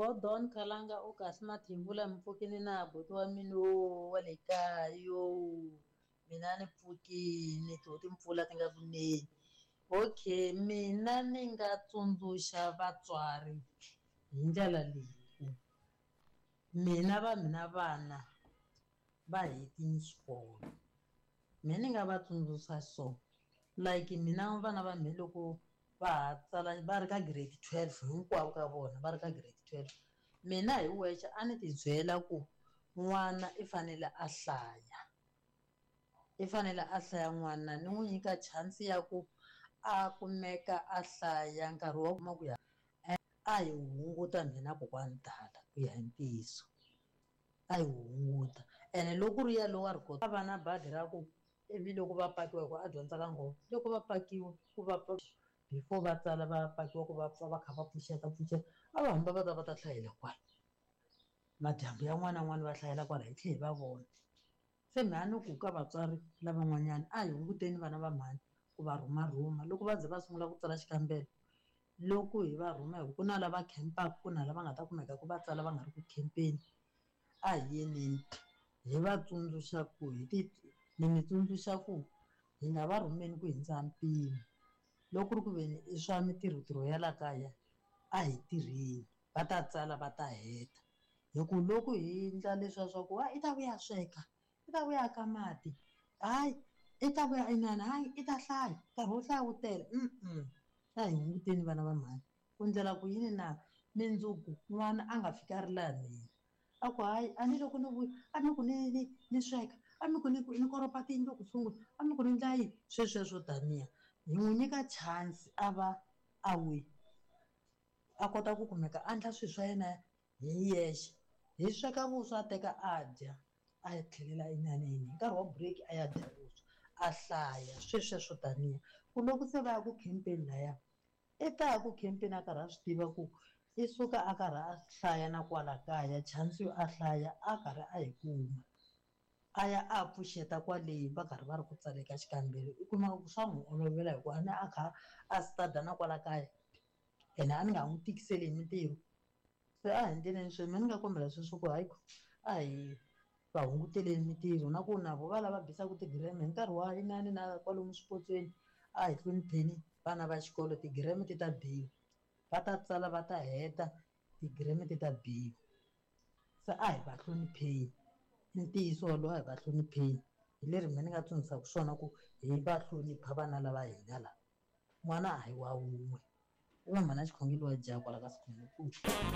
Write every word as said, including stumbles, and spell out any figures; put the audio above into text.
Gordon Khalanga u kahle Mathebula mi pfukini na buti wa mina wo wa le kaya yo mina ni pfukini to timpfula ti nga ku neni okay mina ni nga tsundzuxa vatswari hi ndlela leyi ku mina va mina vana va hetini xikolo me ni nga va tsundzuxa so like mina vana va mina loko va ha tsala va ri ka grade twelve hinkwavo ka vona va ri ka grade twelve mina hi wexe a ni ti byela ku n'wana i fanele a hlaya i fanele a hlaya n'wana ni n'wi nyika chance ya ku a kumeka a hlaya nkarhi wa kuma ku ya a hi hunguta mina kokwani tala ku ya hi ntiyiso a hi hunguta ene loko ku ri yalowo a ri kota va na badi ra ku ivi loko va pakiwa hi ku a dyondza ka nghovo loko va pakiwa ku va before va tsala va pakiwa ku va pfa va kha va pfuxeta pfuxeta a va hamba va ta va ta hlayela kwala madyambu ya n'wana na n'wana va hlayela kwala hi tlhe hi va vona se mhani ku ka vatswari lavan'wanyana a hi hunguteni vana va mhani ku va rhumarhuma loko va ze va sungula ku tsala xikambelo loko hi va rhuma hi ku na lava khempaka ku na lava nga ta kumeka ku va tsala va nga ri ku khempeni a hi yeneni hi va tsundzuxa ku hi ti ni mi tsundzuxa ku hi nga va rhumeni ku hindza mpimo loko ku ri ku veni i swa mitirhotirho ya la kaya a hi tirheni va ta tsala va ta heta hi ku loko hi endla leswiya swa ku i ta vuya sweka i ta vuya ka mati hayi i ta vuya inana hayi i ta hlaya nkarhi wo hlaya wu tele a hi hunguteni vana va mhani ku ndlela ku yini na mindzuku n'wana a nga fiki a ri laha mina a ku hayi a ni loko ni vuya a ni ku ni ni ni sweka a ni ku ni ni koropa tiyindlu ku sungula a ni ku ni ndla yini swesweswo taniya hi n'wi nyika chance a va a wi a kota ku kumeka a endla swilo swa yena hi yexe hi sweka vuswa a teka a dya a tlhelela inaneni hi nkarhi wa break a ya dya vuswa a hlaya swesweswo taniya ku loko se va ya ku khempeni laya i ta ya ku khempeni a karhi a swi tiva ku i suka a karhi a hlaya na kwala kaya chance yo a hlaya a karhi a yi kuma a ya a pfuxeta kwale va karhi va ri ku tsaleka xikambelo i kuma ku swa n'wi olovela hikuva a ni a kha a stada na kwala kaya ene a ni nga n'wi tikiseli hi mintirho se a hi ndleleni sweswi me ni nga kombela sweswo ku hayi a hi va hunguteleni mintirho na ku na vo va lava bisaka tigireme hi nkarhi wa inani na kwalomu swipotsweni a hi hlonipheni vana va xikolo tigireme ti ta biwa va ta tsala va ta heta tigireme ti ta biwa se a hi va hlonipheni i ntiyiso wolowo a hi va hlonipheni hi leri me ni nga tsundzuxaka swona ku hi va hlonipha vana lava hina lava n'wana a hi wa wun'we i va mhana xikhongelo wa dya kwala ka sikhongelo.